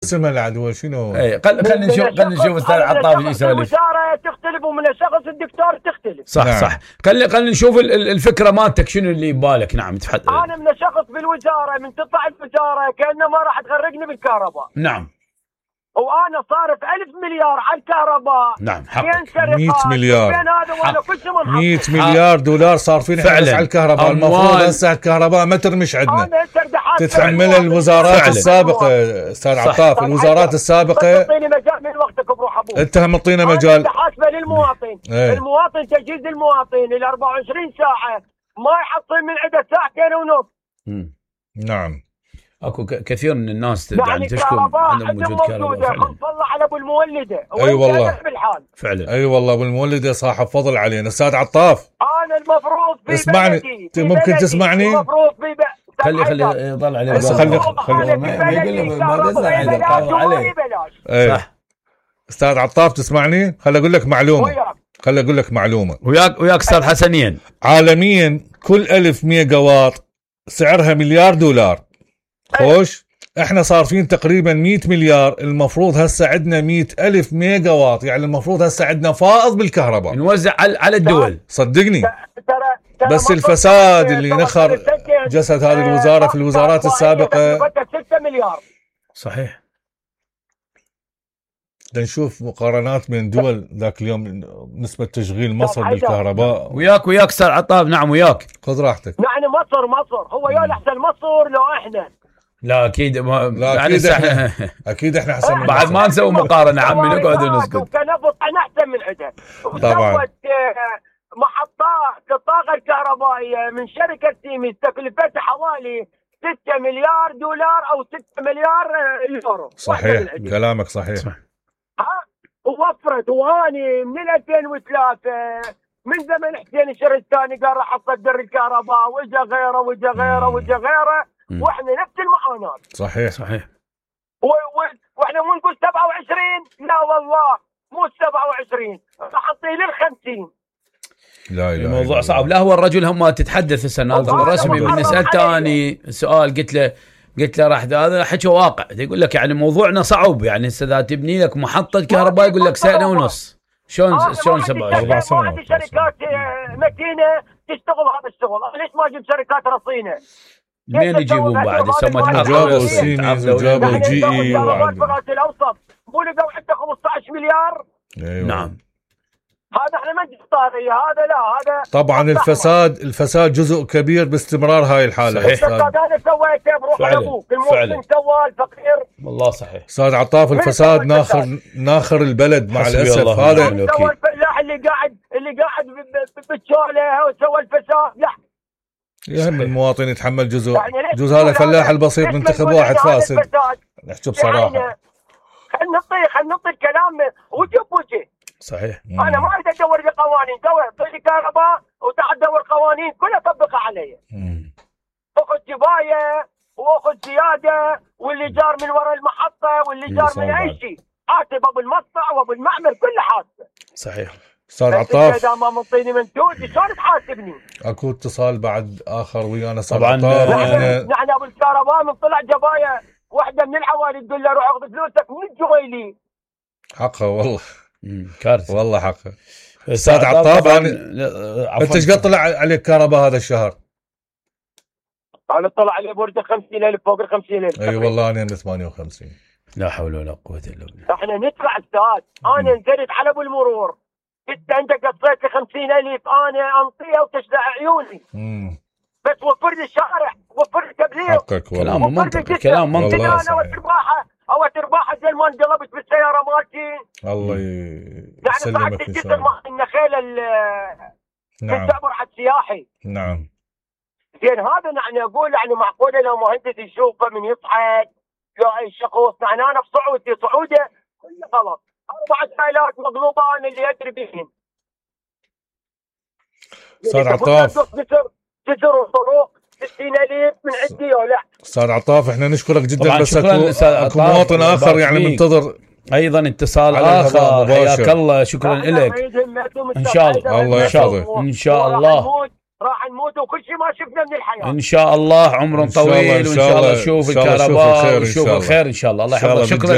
اسمها العدوى شنو؟ اي خلينا نشوف استاذ عطاف ايش يسولف. الوزاره تختلف ومن شخص الدكتور تختلف. صح نعم. صح خلينا نشوف الفكره مالتك شنو اللي ببالك. نعم تفضل. انا من شخص بالوزاره من تطلع الوزاره كانه ما راح تغرقني بالكهرباء. نعم. وانا صارف 1000 مليار على الكهرباء. نعم حقك. 100 مليار. 100 مليار دولار صارفين على الكهرباء. المفروض هسه الكهرباء ما ترمش عندنا. تتحملها الوزارات السابقه استاذ عطاف. الوزارات السابقه. تعطيني مجال من وقتك بروح ابوك. انت هم تعطينا مجال. حاسبه للمواطن. المواطن تجهيز المواطن ال 24 ساعه ما يحصل من عنده ساعتين ونص. نعم. اكو كثير من الناس يعني تشكو عندهم وجود كهرباء. والله على ابو المولده. اي والله فعلا. اي والله ابو المولده صاحب فضل علينا. استاذ عطاف انا المفروض في اسمعني. ممكن تسمعني؟ المفروض في خلي يطلع عليه. خلي ما يقول ما عليه. صح. استاذ عطاف تسمعني؟ خلي اقول لك معلومه. وياك استاذ حسنين. عالميا كل 1000 ميجا واط سعرها مليار دولار. خوش احنا صارفين تقريبا 100 مليار. المفروض هسه عندنا 100,000 ميجا واط. يعني المفروض هسه عندنا فائض بالكهرباء نوزع على الدول. صدقني. بس الفساد اللي نخر جسد هذه الوزارة في الوزارات السابقة. 6 مليار. صحيح. نشوف مقارنات بين دول ذاك اليوم نسبة تشغيل مصر بالكهرباء. وياك استاذ عطاف. نعم وياك. خذ راحتك. يعني مصر هو يا احسن مصر لو احنا. لا اكيد لا اكيد احنا احسن. بعد ما نسوي مقارنه عمي نقعد ونسكت. وكنفط احنا احسن من عندها. طبعا. محطات الطاقه الكهربائيه من شركه سيمنز تكلفتها حوالي 6 مليار دولار او 6 مليار يورو. صحيح كلامك صحيح. ووفرت. واني من 2003 من زمن حسين الشرستاني قال راح اصدر الكهرباء واجا غيره واحنا نفس المعاناه. صحيح. واحنا مو نقول 27. لا والله مو 27 راح نطيل ال50. لا الموضوع صعب. لا هو الرجل هم تتحدث السنه الرسمي بالنسال ثاني سؤال قلت له راح هذا حكي واقع. يقول لك يعني موضوعنا صعب. يعني هسه اذا تبني لك محطه كهرباء يقول لك سنه ونص. شلون 4 سنوات. في شركات متينه تشتغل هذا الشغل. ليش ما اجيب شركات رصينه؟ منين يجيبون بعد؟ جابوا سيمنز وجابوا جي اي الاوسط مو لقوا عنده 15 مليار. أيوة. نعم. هذا احنا ما نختاريه. هذا لا هذا طبعا الفساد جزء كبير باستمرار هاي الحاله. صحيح. انا سويته بروح على ابوك. المواطن سوى الفقير. والله صحيح. استاذ عطاف الفساد ناخر البلد مع الاسف. هذا سوى الفلاح اللي قاعد بالشوله وسوى الفساد. لا يهم المواطن يتحمل جزء هذا الفلاح البسيط منتخب واحد فاسد. نحكي بصراحه. خلينا نعطي الكلام وجه. صحيح. انا ما اريد ادور لي قوانين. طيب كهرباء وتعال دور قوانين كلها طبقها علي. اخذ جبايه واخذ زياده واللي جار من وراء المحطه واللي جار من اي شيء حاسب ابو المصنع وابو المعمل كله حاسب. صحيح. استاذ عطاف اذا ما منطيني منتوج شلون تحاسبني؟ اكو اتصال بعد اخر ويانا طبعا. نحن ابو الكهرباء من طلع جبايه واحده من الحوالي تقول له روح اخذ فلوسك من الجويلي. حقه والله. كارثه والله حقه. استاذ عطاف انت ايش قد طلع عليك كهرباء هذا الشهر؟ انا طلع علي بورده 50,000 فوق ال 50,000. اي والله انا 58. لا حول ولا قوه الا بالله. احنا ندفع استاذ. انا نزلت على ابو المرور انت قصيت لي 50,000 انا انطيها وتشلع عيوني. بس وفر لي الشارع وفر لي تبليغ. حقك والله. كلام منطقي. كلام منطقي. انا وترباحه زي ما انقلبت بالسياره مالتي. الله يسلمك ان شاء الله. النخيل نعم. تعبر على السياحي. نعم. زين هذا يعني اقول يعني معقوله لو مهندس يشوفه من يصعد لا اي شخص يعني انا بصعودي صعوده غلط. 4 فايلات مقلوبه انا اللي ادري بهن. استاذ عطاف جسر وطرق 60,000 من عندي ولا. استاذ عطاف احنا نشكرك جدا. بس اكو مواطن اخر يعني منتظر ايضا اتصال اخر. حياك الله. شكرا لك. ان شاء الله. الله يحفظك ان شاء الله. راح نموت وكل شيء ما شفنا من الحياه. ان شاء الله عمر إن شاء الله، طويل، إن وان شاء شاء الله الله، نشوف إن شاء الله نشوف الكهرباء الخير إن ونشوف شاء الله. الخير ان شاء الله. الله إن شاء الله يحفظك. شكرا.